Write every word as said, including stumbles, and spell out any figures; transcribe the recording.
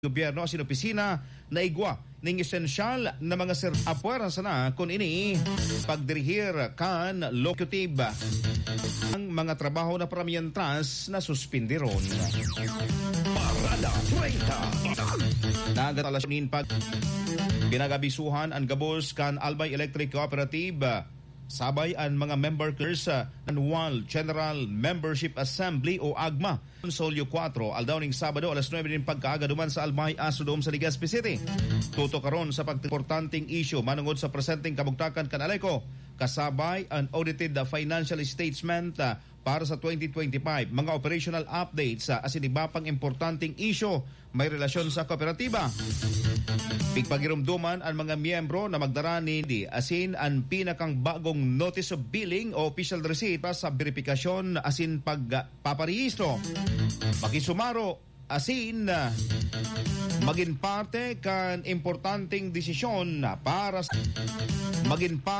gobyerno asin opisina na igwa ning esensyal na mga ser-, apwera sana kun ini pagdirihir kan locomotive. Ang mga trabaho na paramientras na suspindiron. Parada treinta. Nagatalas nin pag pinagabisuhan an gabos kan Albay Electric Cooperative, sabay an mga member sa Annual General Membership Assembly o agma. Solyo kuwatro, aldaw ning Sabado, alas nuebe nin pagkaaga duman sa Albay Astrodome sa Legazpi City. Tutukaron sa pagimportanteng isyu manungod sa presenteng kabugtakan kan Aleco, kasabay an audited financial statement, ah, para sa twenty twenty-five, mga operational updates, ah, asin iba pang importanteng isyu may relasyon sa kooperatiba. Pigpagirumduman an mga miyembro na magdara nin asin an pinakang bagong notice of billing o official receipt para sa beripikasyon asin pag paparehistro. Makisumaro asin, ah, magin parte kan importanteng desisyon para sa, magin parte